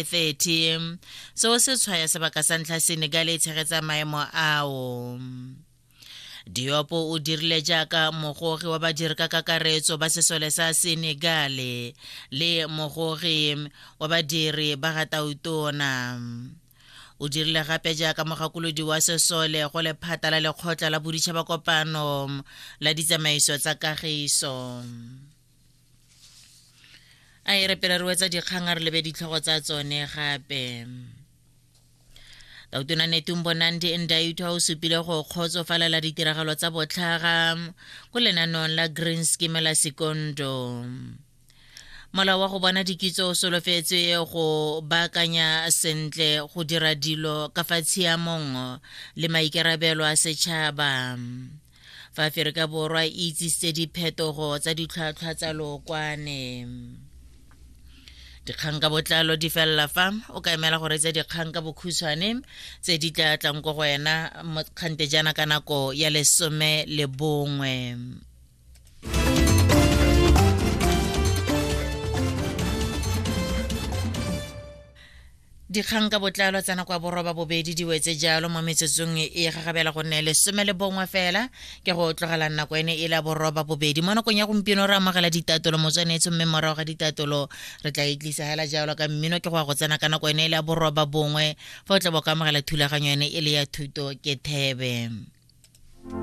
30. Seo se tshwaya sebaka sa ntlha Senegal e tshegetsa maemo ao. Diop o dirile jaaka mogogi wa badiri ka kakaretso ba sesole sa Senegal le mogogi wa badiri ba ga Tautona. O dirile gape jaaka mogakolodi wa sesole go lephata la lekgotla la boditšhaba kopano la ditsamaiso tsa kagiso. A e re pele re wetsa dikgang a re lebe ditlhogo tsa tsone gape. Tautona Netumbo Nandi Ndaitwah o supile go kgotsofalela ditiragalo tsa botlhaga ko lenaneong la Green Scheme la Sekondo. Molao wa go bona dikitso o solofetswe go baakanya sentle go dira dilo ka fa tshiamong le maikarabelo a setšhaba. Fa Aferika Borwa e itsisitse diphetogo tsa ditlhwatlhwa tsa lookwane. Dikgang ka botlalo di felela fa o ka emela go reetsa dikgang ka bokhutshwane tse di tla tlang ko go wena kgante jaana ka nako ya 11. Dikgang ka botlalo tsa nako ya 8:30 di wetse jalo mo metsotsong e gagabela go nne 11 fela ke go tlogela nako ene e la 8:30. Mo nakong ya gompieno re amogela ditatolo motswanetso, mme morago ga ditatolo re tla e tlisa hela jalo ka mmino ke go ya go tsena ka nako ene e la 9:30 fa o tla bo ka amogela thulaganyo ene e le ya thuto ke thebe.